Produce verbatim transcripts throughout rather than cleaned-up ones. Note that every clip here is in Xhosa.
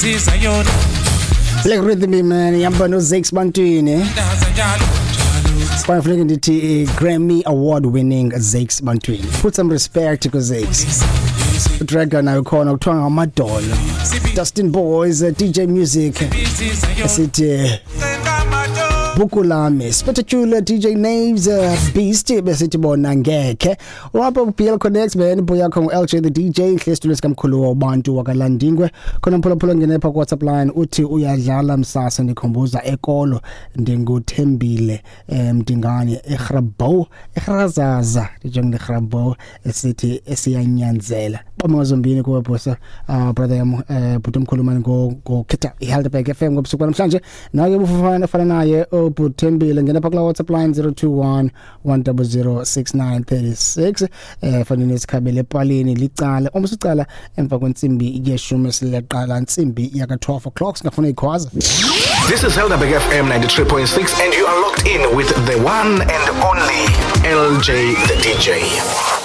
Zizayona. Black Rhythm man, ihamba noZakes Bantwini. Njalo. Sifana funeka ndithi eh, Grammy Award winning Zakes Bantwini. Put some respect to Zakes. Dragon nayo khona kuthiwa ngamadolo. Dustin Boys, eh, D J Music. Sithi eh, Bukulame, Spectacular D J Naves, uh, Beast besithi bona ngekhe. Wapha B L Connect man, boy yakho ngu L J the D J hle studio sikamkhulu wabantu wakaLandingwe. Khona mphulaphula ngene pha ku WhatsApp line, uthi uyadlala msasa, ndikhumbuza ekolo, ndinguthembile mdingane eGrabou eGrazaza, ndinjengeGrabou, esithi esiyanyanzela. Bama zombini kuwe bosa, uh, brother yam, uh, bhuti omkhulu mani, ngokhetha iHelderberg F M ngobusuku namhlanje. Naye ubufana fana naye uButhembile, ngena pha kula WhatsApp line zero two one one zero zero six nine three six. eh fanele sikhabele epalini licala uma sicala emva kwentsimbi yeshumi, sileqala ntsimbi yaka twelve o'clock, singafuna ikhwaza. This is Helderberg F M ninety-three point six and you are locked in with the one and only L J the D J.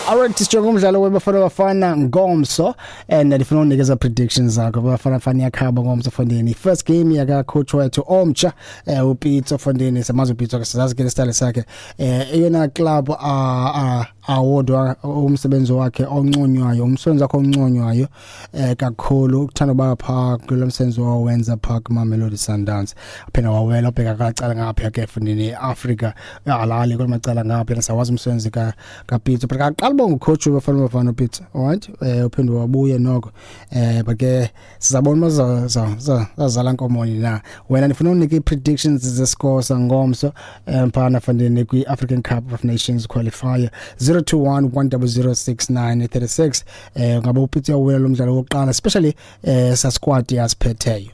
Alright, sijonge umdlalo weBafana Bafana ngomso and ndifuna unikeza predictions zakho. Bafana Bafana yakhaba ngomso fondini, first game yaka coach wethu omtsha, eh uPitso fondini. Samazi uPitso ke, sizazi ke style sakhe. eh eyona club a awodwa umsebenzi wakhe onconywayo, umsebenzi wakhe onconywayo eh kakhulu, ukuthanda ba pha kulo msebenzi wawenza pha kuma Mamelodi Sundowns, phela wawela ubheka kacala ngapha ke fondini Africa alali kwamacala ngapha. Sawazi umsebenzi ka kaPitso, but aqala uba ngucoach weBafana Bafana uPitso, alright, eh uphinde wabuye noko, eh but ke sizabona bazazala nkomoni na. Wena ndifuna unike i-predictions zescore sangomso mphana fandini kwi-African Cup of Nations qualifier, zero two one one zero zero six nine three six. eh ngabe uPitso uyawina lo mdlalo wokuqala, especially eh sa squad yasiphetheyo?